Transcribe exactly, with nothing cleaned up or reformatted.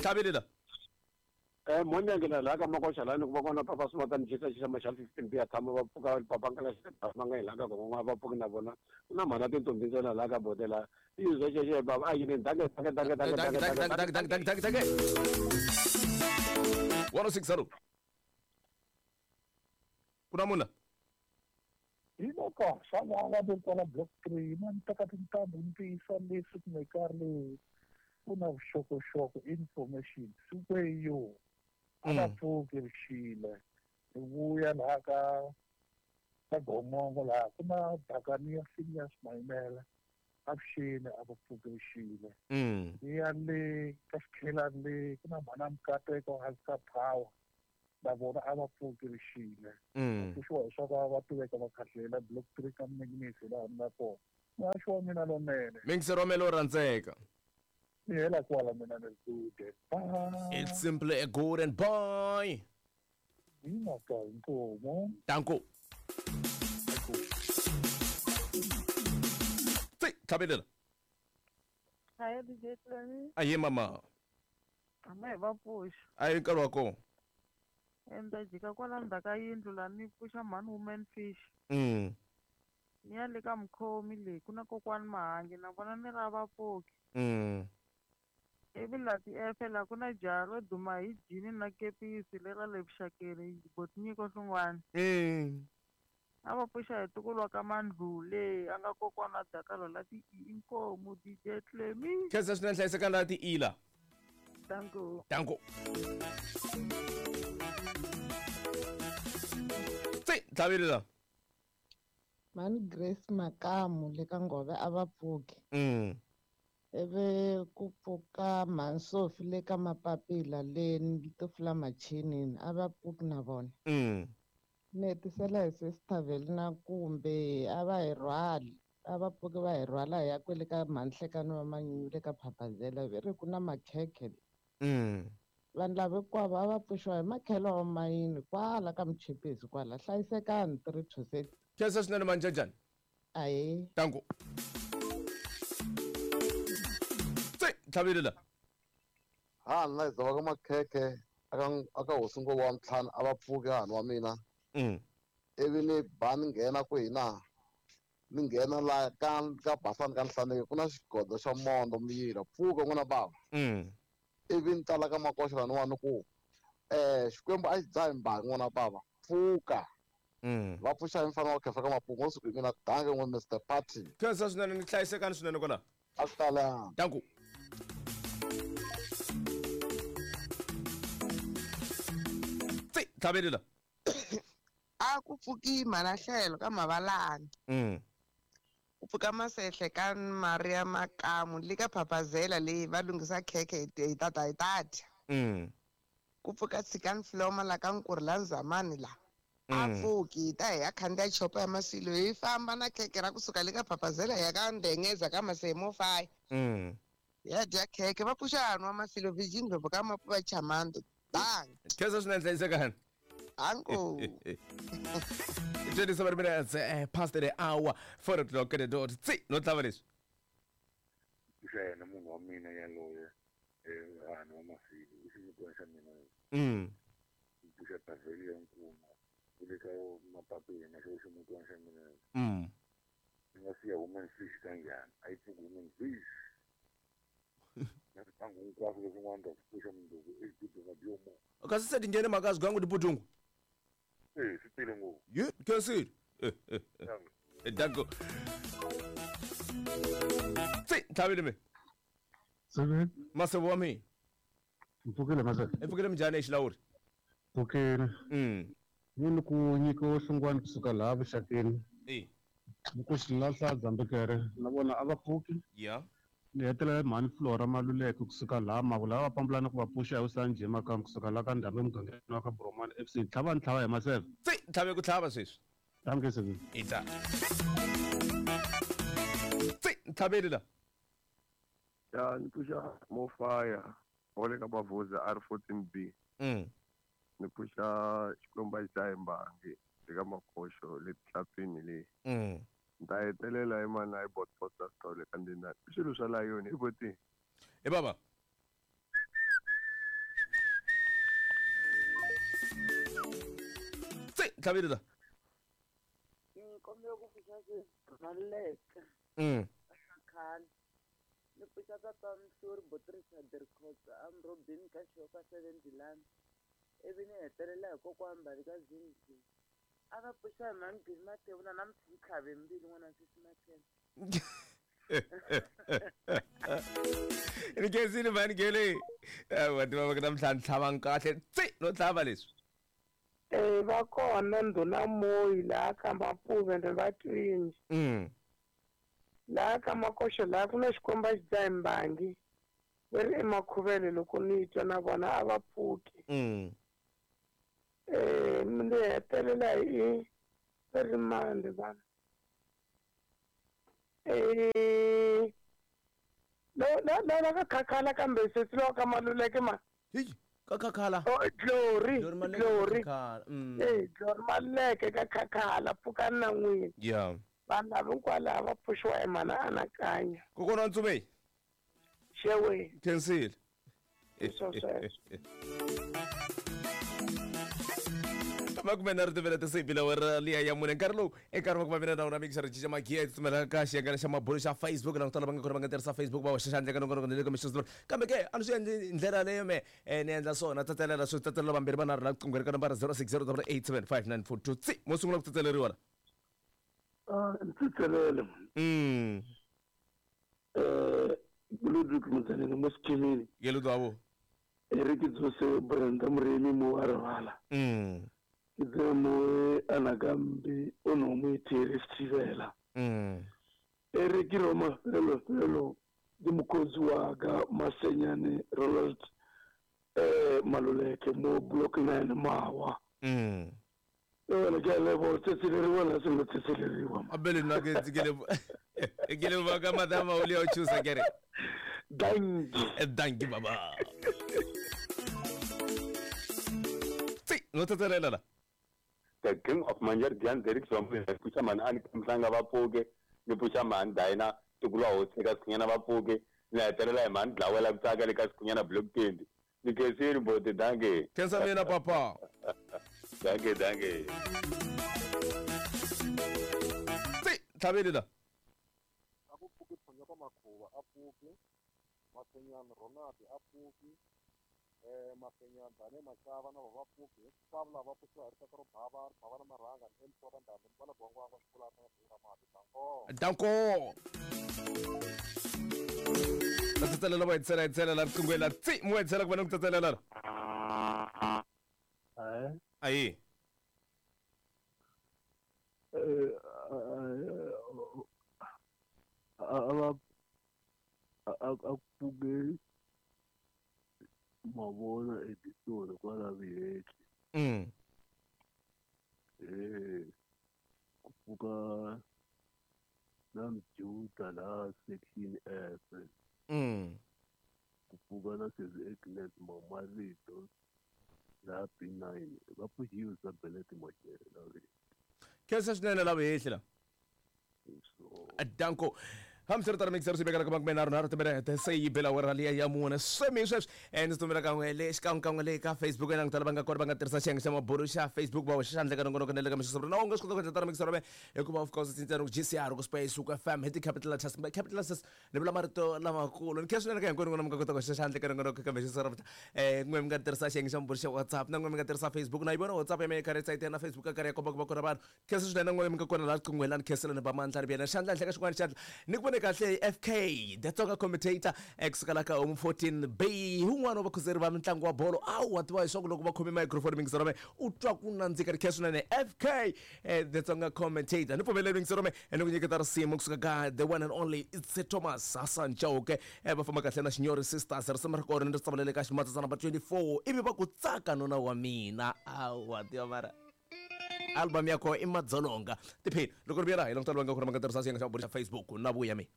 Tlhavelela. Eh monyangela la ka makoxa la ni ku va kona papa swi va ni xisa xa maxa fifteen b ya tshama va pfuka papa nkala xi va nga hi la ka gongongo va pfuki na vona ku na mhana tintombi ntsena la ka bodela i zwe xe baba a yini danke danke danke danke danke danke danke danke danke danke one oh six hello ku na muna hi loko xana nga ve kwala block three na ni teka tintambu ni tiyisa leswi kumbe karhi leyi ku na vuxokoxoko information sikweyo a va pfuki rixile hi vuya laha ka ka gongongo laha ku na bakani ya Phineas Maimela avuxeni a va pfuki rixile ni ya le ka xikhelani le ku na mhana Mukateko hansi ka power na vona a va pfuki rixile pfuxiwa hi swa ku va tiveka va khahlela block three ka minginisi laha ni nga kona muhaxi wa mina lonene mingisero wa mina lo rhandzeka ni hela kwala mina ni good bye. It's simply a good and boy hi mhaka inkomo danko tsi tlhavelela Hi D J Tlani. Aye mama ama hi va pfuxa a hi nkarhi wa kona enda jika kwala ndzhaku ka yindlu laha ni pfuxa mhani woman fish mm ni ya le ka mukhomi leyi ku na kokwani Mahangi na vona ni ra va pfuki mm ivi laha tiefe laha ku na jaha ro duma hi jini na kepisi lera le vuxakeni botinyiko swin'wana mm a va pfuxa hi ntukulu wa ka Mandlule a nga kokwana Dakalo la ti inkomu D J Tlemi khensa swinene hlayisekani la ti ila danko danko tsi tlhavelela mani Grace Makamu le ka Ngove a va pfuki mm ivi ku pfuka Mhansofi le ka Mapapila le Tofula Machinini a va pfuki na vona mm ni hetisela hi Sister na kumbe a va hi rhwali a va pfuki va hi rhwala hi ya kwele ka Mhanhlekani wa Manyunyu le ka Phapazela ve ri ku na makhekhe mm vanhu lava hinkwavo a va pfuxiwa hi makhelo wa mayini kwala ka Muchipisi kwala hlayisekani three to six khensa swinene manjajani ahe danko tsi tlhavelela ha nna hi ka makhekhe aka aka hosi ngo wa ntlhanu a va pfuki hahani wa mina mm ivi ni ba ni nghena ku hina ni nghena la ka ka basani ka Nhlaneki ku na xigodo xa mondo miyila pfuka n'wana bava mm ivi ni tala ka makoxa laniwani ku eh Xikwembu a xi dzahi mbangi n'wana bava pfuka mm va pfuxa hi mfana wa khefa ka mapungu siku hi mina danke n'we Mister Party khensa swinene ni hlayisekani swinene kwala a swi talanga danko tsi tlhavelela a ku pfuki Malahlelo ka Mavalani mm ku pfuka Masehle ka Maria Makamu le ka Phapazela leyi va lunghisa khekhe hi tata hi tata mm ku pfuka Tshikani Floma la ka Nkurhi la Nzamani la a pfuki hi ta hi ya khandziya chopa ya Masilo hi famba na khekhe ra kusuka le ka Phapazela hi ya ka Ndengeza ka Masemo five mm ya dya khekhe va pfuxa hanwa Masilo Virgin Ndlovu ka Mapuva Chamando bang khensa swinene hlayisekani anko twenty-seven minutes eh, past the hour four o'clock at the dot tsi no tlhava leswi pfuxa yena munhu wa mina yaloye eh hahani wa Masilo i ximutwana xa mina mm pfuxa Taveli ya Nkuma ku le ka Mapapila na xo ximutwana xa mina mm ni nga siya woman fish kanjhani a yi pfuki woman fish na swipangu hinkwaswo leswin'wana ta swi pfuxa mundzuku exibudunga byomo kasi se ti nghene mhaka ya swigangu tibudungu eh swi tele ngopfu ye khensile danko tsi tlhavile me Seven. masebo wa mina Mpfukile masebe. i pfukile minjhani exilawuri Pfukile. mm Ni ku nyika hlungwani kusuka laha vuxakeni e ni ku xilahla Dzambekere na vona a va pfuki ya ni hetelela mhani Flora Maluleke kusuka laha Mavula va pambulana ku va pfuxa hi Usanje Makamu kusuka laha ka Ndhambi emugangeni wa ka Bromani F C tlhava ni tlhava hi maseve tsi tlhave ku tlhava sweswi danke sebe ita tsi tlhaveli la ya ni pfuxa Mofaya wa le ka Mavhuza R fourteen B mm ni pfuxa Xikwembu a xi dzahi mbangi le ka Makoxo le Tihlapini le mm ni ta hetelela hi mana hi botbota Sithole ka Ndinani i swilo swa layoni i boti e baba Tlhavile la. Ni kombela ku pfuxa Maluleke. Mm. Khale. Ni pfuxa papa Mhluri Botrisa Derkotsa amrobini ka xoka seven Dilani. Ivi ni hetelela hi kokwana Mbali ka Zinzi. A va pfuxa hi mhani Gini Mathebula na Mtlhave mbilu n'wana sesi Mathebula. Ni khensile mhani Gele. Va tiva va ku namuntlha ni tlhavanga kahle tsi no tlhava leswi. Eh va kona ndhuna Moyi laha ka Mapuve ende va twinji. Mm. Laha ka Makoxo laha ku na xikomba xi dzaha mbangi. Va ri emakhuvele loko ni twa na vona a va pfuki. Mm. Eh ni hetelela hi va ri mani vana. Eh la la la la ka Khakhala kambe sesi lowa ka Maluleke ma. Hi ka Khakhala. Oh Glory Glory. Glory. Eh Glory Maluleke ka Khakhala pfukani na n'wina. Yeah. Vanhu lava hinkwalaho va pfuxiwa hi mhana Anakanya. Kokwana wa Ntsumei. Xewe. Khensile. Swo sweswo. Makume nharhu timela tisiphi lawara liya ya mune nkarhi lowu enkarhi wa ku va mina na wona mixer cinca magiya tsutsumela ka xiyengana xa mabulo xa Facebook la ku tala va nga kona va nga tirhisa Facebook va hoxa xandla ka nongonoko na le ka mixer kambe ke a ni swi endli ndlela leyo me ni endla swona tsatselela swi tsatselela vambirhi vanharhu la riqingho ri ka nambara zero six zero double eight seven five nine four two tsi mo sungula ku tsatseleriwa la. Ah ntsitselele. Mm. Eh Ludwig Mutsanene mo Sekimini. Ke Ludwig abo. Eric Dzose Brenda Muremi mo Arvala. Mm. Ke tse mo Anakambi o no mo ithiri Sthivela. Mm. Eric Roma felo felo di mokotsi wa ka Masenyane Ronald eh Maluleke mo block nine Mawa. Mm. Wena ke a leboha tsetseleriwa la se tsetseleriwa. Abele nna ke ke le ke le ba ka madama o le o choose kere. Dankie. Dankie baba. Tsi no tsetselela la. The King of Manjer Dian Derek Swambu pfuxa mhani ani Mhlanga va pfuke ni pfuxa mhani Dina Tukulwa hosi eka Sikhunyana va pfuke ni hetelela hi mhani Dlawela ku tsaka le ka Sikhunyana block twenty. Ni khensile bote dankie. Khensa mina papa. Dankie dankie. Tsi tlhavile la. A ku pfuki Phonyo ka Makhuva a pfuki Masenyana Ronald a pfuki eh Masenyana Dane Machava na va pfuki hinkwavo lava va pfuxiwa hi rixaka ro bava ri bava na marhanga ni emfora ndhambi ni vona bongwangwa xikulata na bura mati danko. Danko. Va tsatselela va hetisela hetisela la riqingho la tsi mo hetisela ku va ni ku tsatselela la. Eh Ayi. Eh a a a pfuke mavona editori kwala Vihehli. Mm. Eh ku pfuka na Mjuda la section F. Mm. Ku pfuka na Sesi Agnes Mamarito la B nine va pfuxiwe Benet Machele la Vihehli. Khensa swinene la Vihehli la. Danko. Hambiswiritano mixer swi vekela ka makume nharhu nharhu timinete se yi bela wera liya ya mune swemi sweswi eh ni tsumela kan'we le xikan'wekan'we le ka Facebook na tala va nga kona va nga tirhisa xiyenge xa mabulo xa Facebook va hoxa xandla ka nongonoko na le ka mixer na u nga swi kota ku endla tano mixer me hikuva of course cinca G C R ku space ku F M hi ti capital letters capital letters ni vula marito lamakulu ni khensa swinene ka hinkwenu n'wina mi nga kota ku hoxa xandla ka nongonoko ka mixer eh n'we mi nga tirhisa xiyenge xa mabulo xa WhatsApp na n'we mi nga tirhisa Facebook na yi vona WhatsApp ya mina yi karhi yi tsayitela na Facebook a karhi ya komba ku va kona vanhu khensa swinene n'we mi nga kona laha riqinghweni la ni khensela ni ba mandla ni byela xandla henhla ka xin'wana xandla ni ku kahle F K the Tsonga commentator ekusuka la ka home fourteen B un'wana wa vakhuzeri va mitlangu wa bolo a wa tiva leswaku loko va khome microphone mingisero me u twa ku nandzika ri khensa swinene F K the Tsonga commentator ni pfumeleli mingisero me ni ku nyiketa risimu kusuka ka the one and only it's Thomas Hassan Chauke va famba kahle na Xinyori Sisters risimu ra kona ni ri tsavalele ka ximatsatsa number twenty-four ivi va ku tsaka nuna wa mina a wa tiva mara album ya kona i madzolonga tiphini loko ri vuyela hi langutela va nga kona va nga tirhisa xiyenge xa mabulo xa Facebook na vuya mi.